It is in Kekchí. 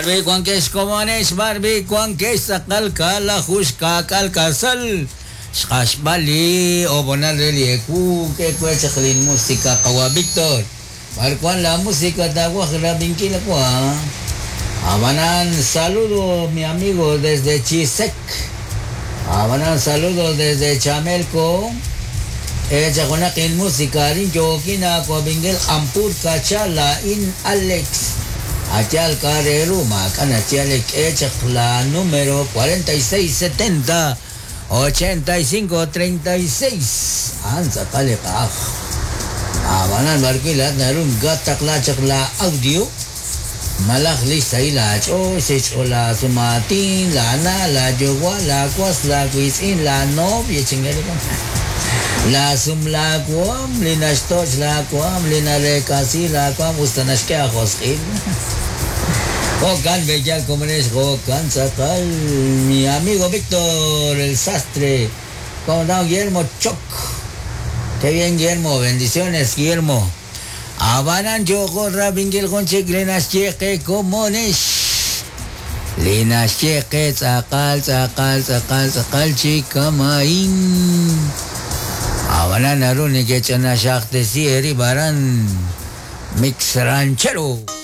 Barbie wankex komonex, barbie wankex tz'aqal kaalaju xkaak'al k'asal. Xq'axb'al li ob'onal re li ewu, k'e we chaq lin música qawa' Víctor. B'ar wan la música taawaj rab'inkil wa? Ab'anan saludo mi amigo desde Chisec. Ab'anan saludo desde Chamelco. K'e chaq junaq inmúsica arin yookin aawab'inkil Q'ampur Kacha laa'in Alex. A yaal k'a' re ru maak'a' naxye k'e chaq la número 46 70 85 36. A'an tz'aqal li q'aj. Ab'anan b'ar wi' laa'at naru nkataqla chaq la audio malaj li xsahil aach'ool, xch'ool laasumaatin, laana', laayuwa', laawas, laawiitz'in, laanoviy, chingalikon. Laasum laawaam, li naxtoch' laawaam, li nareek'asi laawaam us ta naxk'e aajosq'il. Jo'kan b'eyal komonex, jo'kan tz'aqal. Mi amigo Víctor el Sastre. ¿Cómo andamos, Guillermo Choc? Qué bien, Guillermo. Bendiciones, Guillermo. Ab'anan yooqo rab'inkil jun chik li naxye qe komonex. Li naxye qe tz'aqal, tz'aqal, tz'aqal, tz'aqal chi kama'in. Ab'anan naru nekech'anaxaqtesi eerib' aran Mix Ranchero.